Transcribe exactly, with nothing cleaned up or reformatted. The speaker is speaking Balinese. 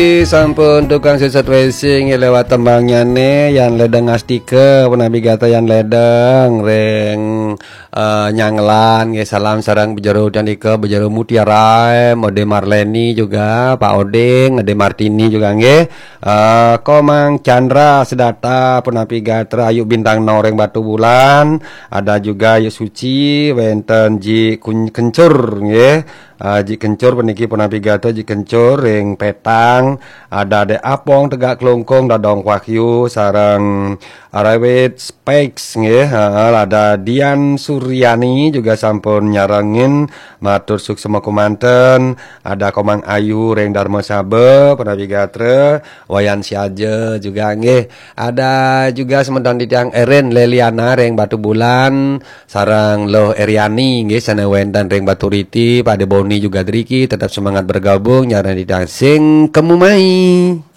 Sampun tukang siset racing lewat tembangnyané, Yan Ledeng Astika, punapi gatra Yan Ledeng, ring eh, Nyangelan, nggih, salam sareng Bejero Candika, Bejero Mutiara, Ode Marleni juga, Pak Oding, Ode Martini juga, nggih. Eh, Komang Chandra Sedata, punapi gatra, Ayu Bintang Noreng Batu Bulan, ada juga Ayu Suci, wénten Ji Kun-, Kencur, nggih. Eh, Ji Kencur puniki punapi gatra, Ji Kencur ring Petang, ada Dek Apong Tegak Klungkung, Dadong Wahyu, sareng Arawit Spex, nggih, heeh, ada Dian Suryani juga sampun nyarengin, matur suksma kumanten, ada Komang Ayu ring Dharma Saba, punapi gatra, Wayan Siaja juga, nggih, ada juga semeton titiang Erin Leliana ring Batu Bulan, sareng Loh Eriani, nggih, sané wénten ring Batu Riti, Pak De Boni juga driki, tetap semangat bergabung, nyarengin titiang sing kemu mai.